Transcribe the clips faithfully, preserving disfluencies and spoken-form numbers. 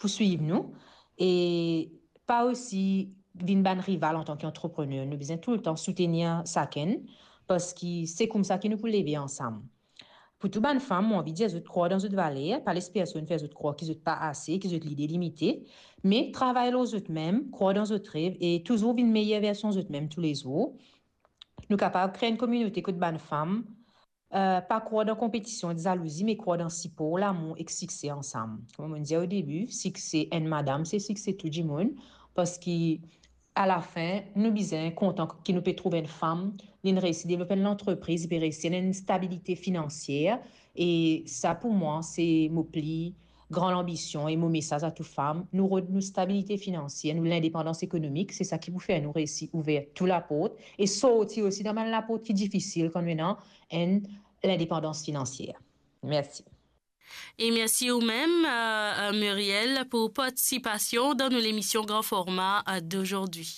pou swiv nou, e pa osi vinn bann rival antan ki antreprener. Nou bizin toultan soutenir sakenn, parski se koumsa ki nou pou leve ansam. Pou tou bann fam, mo anvi dir zot krwar dan zot valer, pa les personn fer zot krwar ki zot pa ase, ki zot lide limite, me travay lor zot mem, krwar dan zot rev e touzour vinn meyer version zot mem toulezour. Nou kapav kre enn kominote kot bann fam, eh, pa krwar dan konpetision ek zalouzi, me krwar dan sipor, lamour ek sikse ansam. Kouma mo dir o debi, sikse enn madam se sikse tou dimoun, parski alafin, nou bizin kontan ki nou pe trouv enn fam, li reisi devlop enn lantrepriz, li pe reisi ena enn stabilite finansier, e sa pou mwa, se mo pli gran lanbision e mo mesaz a tou fam. Nou rod nou stabilite finansier, nou lindepandans ekonomik, se sa ki pou fer nou reisi ouver tou laport e sorti osi dan bann laport ki difisil kan nou ena enn lindepandans finansier. Mersi. E mersi ou mem, euh, euh, Muriel, pou partisipasion dan nou lemision Gran Forma, euh, dozordi.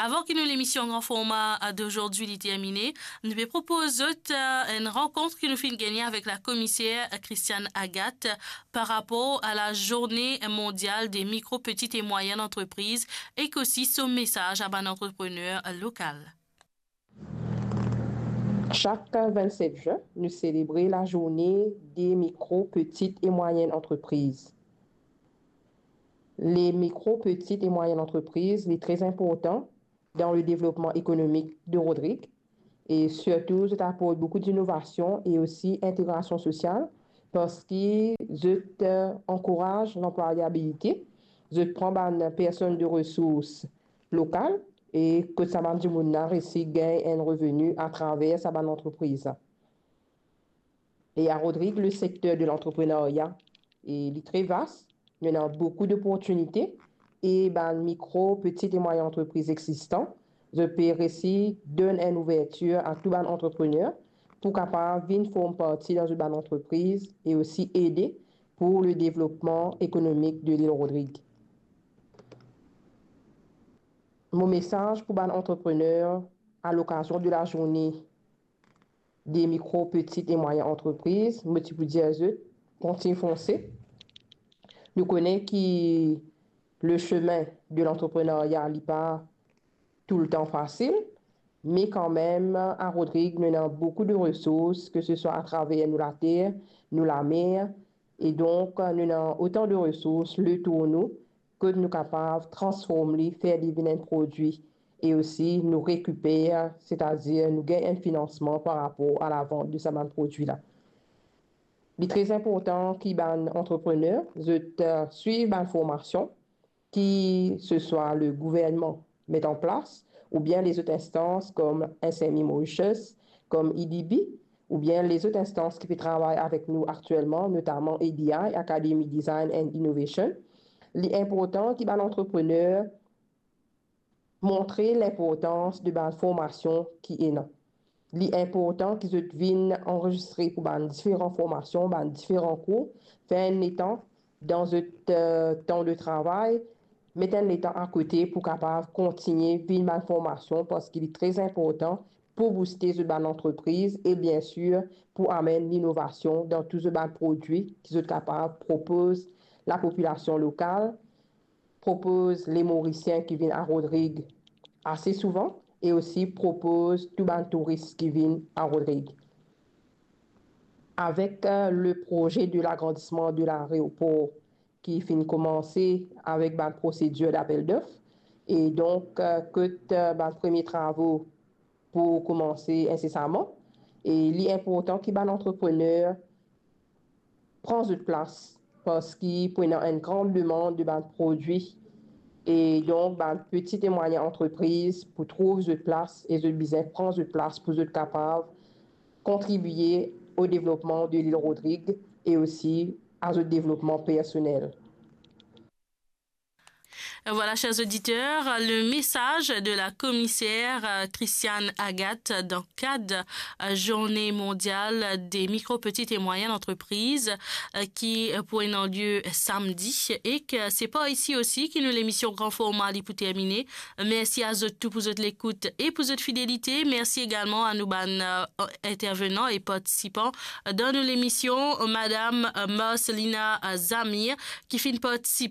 Avan ki nou lemision Gran Forma, euh, dozordi li termine, nou pe propoz zot, euh, enn rankont ki nou finn gagne avek la komiser, euh, Christiane Agathe par rapor a la Zourne Mondial de Mikro, Petit e Mwayenn Antrepriz ek osi so mesaz a bann antreprener lokal. Chak vennset zin, nou selebre la Zourne de Mikro, Petit e Mwayenn Antrepriz. Le mikro, petit e mwayenn antrepriz, li tre inportan dan le devlopman ekonomik de Rodrig e sirtou zot aport boukou dinovasion e osi integrasion sosial, parski zot, eh, ankouraz lanplwayabilite, zot pran bann personn de resours lokal e kot sa bann dimoun la reisi gagn enn reveni atraver sa bann antrepriz la. E a Rodrig, le sekter de lantreprenarya, e li tre vas, nou ena boukou doportinite e bann mikro, petit e mwayenn antrepriz existan, zot pe reisi donn enn ouvertir a tou bann antreprener pou kapav vinn form parti dan zot bann antrepriz e osi ede pou le devlopman ekonomik de lil Rodrig. Mo mesaz pou bann antreprener a lokazion de la Zourne de Mikro, Petit e Mwayenn Antrepriz, mo ti pou dir zot, kontign fonse. Nou kone ki le semin de lantreprenarya, li pa toultan fasil, me kanmem, a Rodrig, nou ena boukou de resours, ke se swa atraver nou later, nou lamer, e donk, nou ena otan de resours letour nou, kot nou kapav transform li, fer li vinn enn prodwi, e osi nou rekiper, setadir nou gagn enn finansman par rapor a lavant de sa bann prodwi la. Li tre inportan ki bann antreprener, zot, eh, swiv bann formasion, ki se swa le gouvernman met an plas, oubien lezot instans kom S M E Mauritius, kom E D B, oubien lezot instans ki pe travay avek nou aktielman, notaman A D I, Academy Design and Innovation. Li inportan ki bann antreprener montre linportans de bann formasion ki ena. Li inportan ki zot vinn anrezistre pou bann diferan formasion, bann diferan kour, fer enn letan dan zot, eh, tan de travay, met enn letan akote pou kapav kontigne vinn bann formasion, parski li tre inportan pou bouste zot bann antrepriz e, biensir, pou amenn linovasion dan tou zot bann prodwi ki zot kapav propoz lapopilasion lokal, propoz le Morisien ki vinn a Rodrig ase souvan e osi propoz tou bann touris ki vinn a Rodrig. Avek, eh, le proze de lagrandisman de laeropor ki finn koumanse avek bann prosedir dapel dof, e donk, eh, kot, eh, bann premie travo pou koumanse insesaman, e li inportan ki bann antreprener pran zot plas, parski pou ena enn gran demann de bann prodwi, e donk bann petit e mwayenn antrepriz pou trouv zot plas e zot bizin pran zot plas pou zot kapav kontribie o devlopman de lil Rodrig e osi a zot devlopman personel. Voilà, chers auditeurs, le message de la commissaire, euh, Christiane Agathe dans le cadre, euh, Journée mondiale des micro, petites et moyennes entreprises, euh, ki, euh, pou ena lye samdi, e ke se par isi osi ki nou lemision Gran Forma li pou termine. Mersi a zot tou pou zot lekout e pou zot fidelite. Mersi egalman a nou bann, euh, intervenan e partisipan dan nou lemision, madam, euh, Marcelina, euh, Zamir, ki finn partisipe